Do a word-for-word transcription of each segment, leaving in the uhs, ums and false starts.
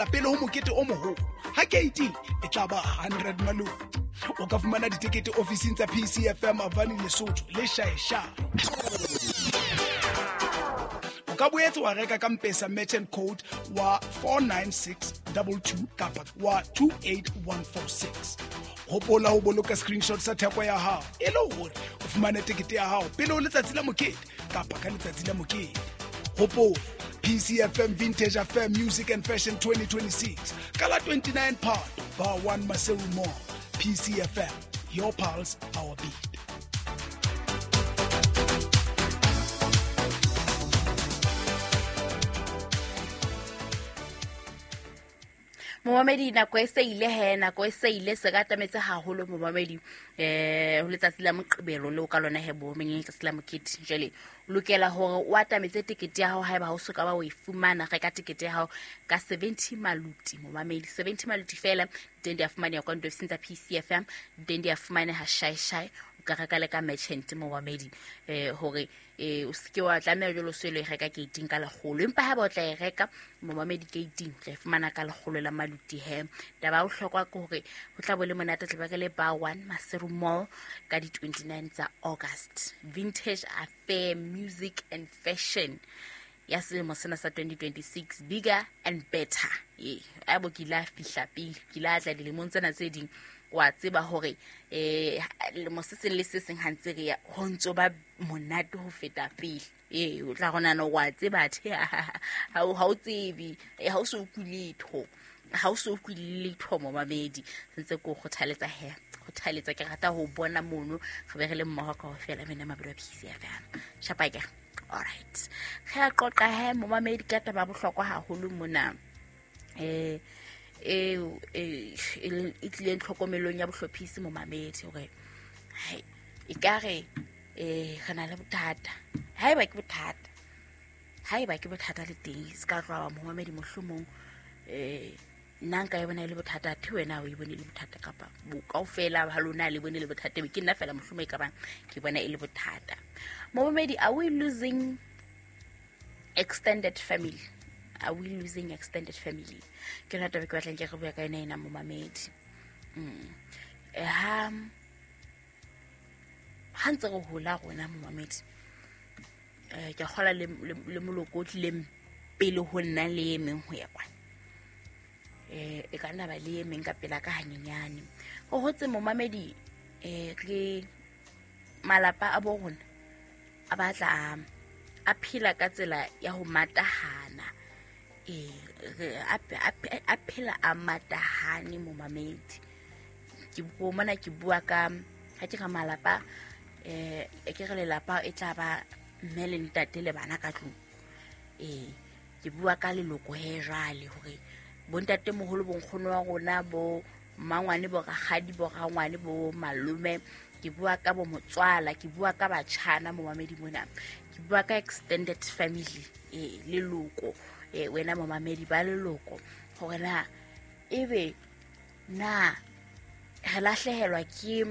fihlela pele ho mokete o moholo. Ha keiting e tla ba hundred maluti. O ka fumana ditekete ofising tsa P C F M Avani Lesotho le Shaeshae. O ka boetse wa reka ka M-Pesa merchant code wa four nine six two two kapa wa two eight one four six. Hopola ho boloka screenshot sa theko ya hao e le hore o fumane tekete ya hao pele ho letsatsi la mokete kapa ka letsatsi la mokete. Hopola P C F M Vintage Affair Music and Fashion twenty twenty-six ka la twenty-nine Phato Bar one Maseru Mall. P C F M, your pulse, our beat. Momamedi nako e se ile he nako e se ile se ka tametse haholo momamedi eh ho letsatsi la Moqebelo le o ka lona he bo meng letsatsi la mokete jwale lokela hore o atametse tekete ya hao haeba ha o soka ba o e fumana reka tekete ya hao ka seventy maluti momamedi seventy maluti fela teng di a fumaneha kwa ofising tsa P C F M teng di a fumaneha Shaeshae o ka reka le ka merchant momamedi eh hore eh o seke wa tlameha jwalo se le reka gating ka lekgolo empa ha ba o tla e reka momamedi gating tla e fumana ka lekgolo la maluti he taba o hlokwa ke hore ho tla bo le monate tla ba ke le Bar one Maseru Mall ka di twenty-nine tsa August. Vintage Affair Music and Fashion ya selemo sena sa twenty twenty-six, bigger and better. Eh a bo ke la fihla pele ke la tla dilemong tsena tse ding wa tseba hore eh lemo se seng le se seng ha ntse re ya ho ntso ba monate ho feta pele. Eh o tla rona no wa tseba the ha o ha o tsebe ha o so kuletho ha o so kuletho momamedi sentse ko kgothaletsa he kgothaletsa ke rata ho bona mono re be re le mmoho kaofela mena mabelo a P C F M shapake. All right, re a qoqa he momamedi ka taba bohlokwa haholo mona eh e e tlileng tlhokomelong ya bohlophisi momamedi hore hai e ka re eh re na le bothata haeba ke bothata haeba ke bothata le teng se ka tloha momamedi mohlomong eh nna nka e bona e le bothata the wena o e bone le bothata kapa bo kaofela ha lona le bone le bothata be ke nna fela mohlomong e ka bang ke bona e le bothata. Momamedi, are we losing extended family? Are we losing extended family? Ke yona taba ke batlang ke re bua ka yona ena momamedi. Mm. Ha ha ntse re hola rona momamedi eh ke kgola le le moloko o tlileng pele ho nna le e meng ho ya kwana eh e ka nna ba le e meng ka pela ka hanyenyane ho hotse momamedi eh ke malapa a bo rona a batla a phela ka tsela ya ho matahana eh a phela a matahane momamedi. Ke bua mona ke bua ka ha ke re malapa eh ke re lelapa e tla ba mme le ntate le bana ka tlung eh ke bua ka leloko he jwale hore bontate moholo bonkgono wa rona bo mmangwane bo rakgadi bo rangwane bo malome ke bua ka bo motswala ke bua ka batjhana momamedi mona ke bua ka extended family eh leloko eh wena momamedi ba leloko hore na ebe na re lahlehelwa ke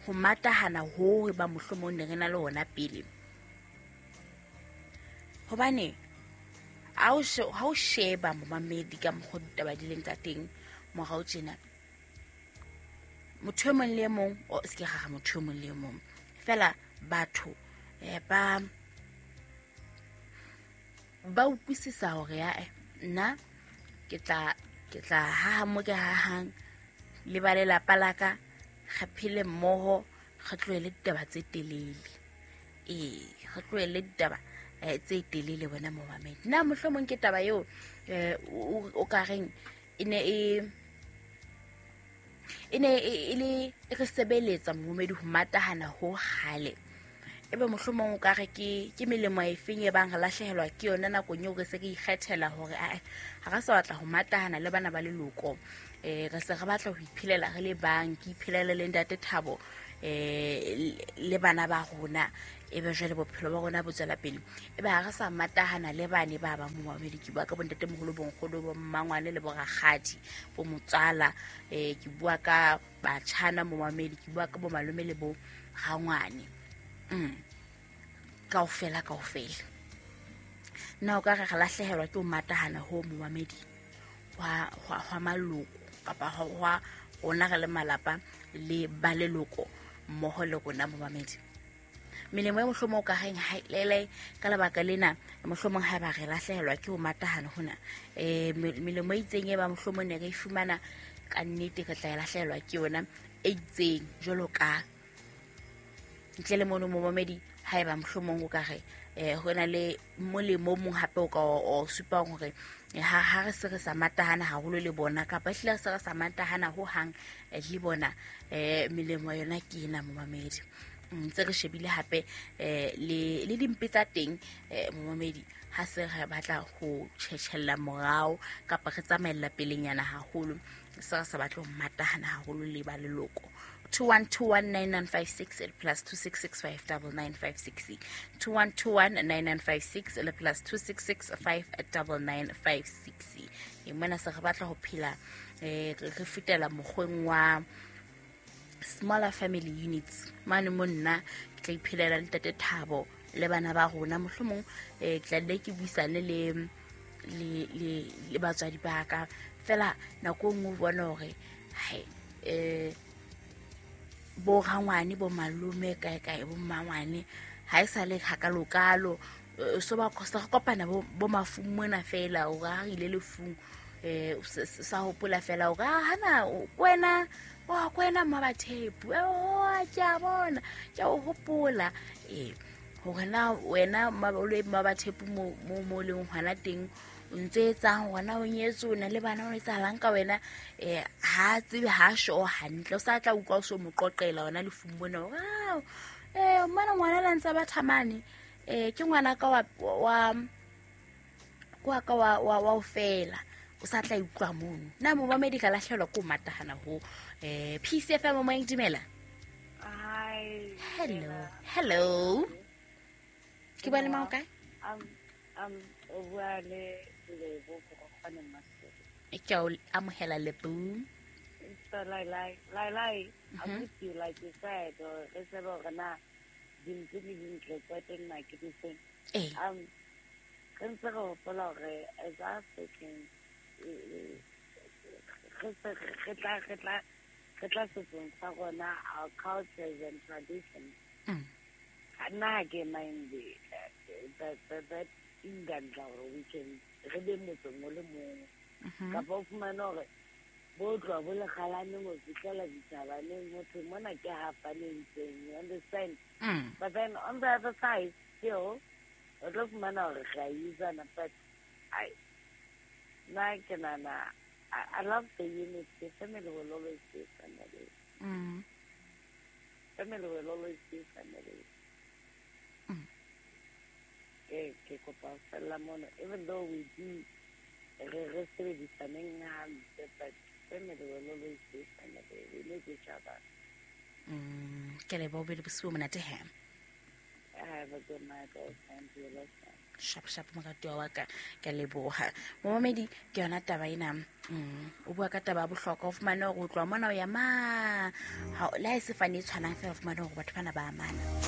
ho matahana ho ba mohlomong ne re na le hona pele hobane ha o ha o sheba momamedi ka mokgwa ditaba di leng ka teng morao tjena motho e mong le e mong o se ke ga motho e mong le e mong fela batho eh ba ba utlwisisa hore ya nna ke tla ke tla haha mo ke hahang le ba lelapa la ka re phele mmoho re tlohele ditaba tse telele ee re tlohele ditaba tse telele wena momamedi. Nna mohlomong ke taba eo o ka reng e ne e e ne e le e re sebeletsa momamedi ho matahana ho kgale ebe mohlomong o ka re ke ke melemo e feng e bang re lahlehelwa ke yona nakong eo re se re ikgethela hore a ha re sa batla ho matahana le bana ba leloko eh re se re batla ho iphelela re le bang ke iphelele le ntate Thabo eh le bana ba rona ebe jwale bophelo ba rona bo tswela pele ebe ha re sa matahana le bane ba ba momamedi ke bua ka bontate moholo bonkgono bo mmangwane le bo rakgadi bo motswala eh ke bua ka batjhana momamedi ke bua ka bo malome le bo rangwane mm kaofela kaofela nna o ka re re lahlehelwa ke ho matahana ho momamedi hwa hwa maloko kapa hwa rona re le malapa le ba leloko mmoho le rona momamedi. Melemo e mohlomong o ka reng ha lele ka lebaka lena mohlomong ha ba re lahlehelwa ke ho matahana hona eh melemo e itseng e ba mohlomong ne re e fumana ka nnete re tla e lahlehelwa ke yona e itseng jwalo ka ntle le mono momamedi ha eba mohlomong o ka re eh hona le molemo mong hape o ka o supang hore ha ha re se re sa matahana haholo le bona kapa ehlile re se re sa matahana ho hang le bona eh melemo yona ke ena momamedi. Ntse re shebile hape eh le le dimpe tsa teng eh momamedi ha se re batla ho tjhetjhella morao kapa re tsamaella pelenyana haholo se re sa batla ho matahana haholo le ba leloko. Two one two one nine nine five six plus two six six five double nine five six two one two one nine nine five six plus two six six five double nine five six. E mona se re batla ho phela eh re fetela mokgweng wa smaller family units mane monna ke tla iphelela le ntate Thabo le bana ba rona mohlomong eh ke tla le ke buisane le le le le batswadi ba ka fela nako nngwe bona hore hai eh bo rangwane bo malome kae kae bo mmangwane ha e sa le hakalokalo so ba kosta kopana bo bo mafung mona fela o ga ile lefung eh sa hopola fela o ga hana kwena wa kwena mmabathepu o ke a bona ke o hopola eh hore na wena mabolo mmabathepu mo mo mo leng hona teng o ntse etsang hona o nyetse o na le bana o etsahalang ka wena eh ha tsebe ha sho hantle o sa tla utlwa o so mo qoqela wena lefung bona hore eh mona ngwana la ntsa ba thamane eh ke ngwana ka wa wa kwa ka wa wa o fela o sa tla utlwa mono na mo ba medical lahlelwa ko matahana ho eh P C F M mo dumela. Hi. Hello. Hello. Ke bua le mang kae? Um um o bua le Lebo go gone Masedi. Ke o amohela Lebo. So like like like like I'm with you like you said or re tsebe hore na dintho di dintle tsa teng na ke difeng. Eh. Um re ntse re hopola hore as Africans re tla re tla re tla setsong sa rona our cultures and traditions. Mm. Nna ha ke mind that that that ingandla hore we can re be motseng o le mong. Kapa o fumane hore bo tloha bo lekgalaneng ho fihlela dithabaneng ho thwe mona ke hafaneng teng, you understand? Mm. But then on the other side still o tlo fumana hore re a usana, but I nna ke nahana I, I love the unity. Family will always be family. Mm. Family will always be family. Mm. Ke ke kopa fela mono even though we do re re sebedisaneng hampe, but family will always be family. We need each other. Mm. Ke leboha bele bosiu monate he. Have a good night all and you love. Shap shap moratuwa wa ka ke leboha momamedi ke yona taba ena mm o bua ka taba ya bohlokwa o fumane hore o tloha mona o ya ma ha le ha e se fane e tshwanang fela o fumane hore batho bana ba amana.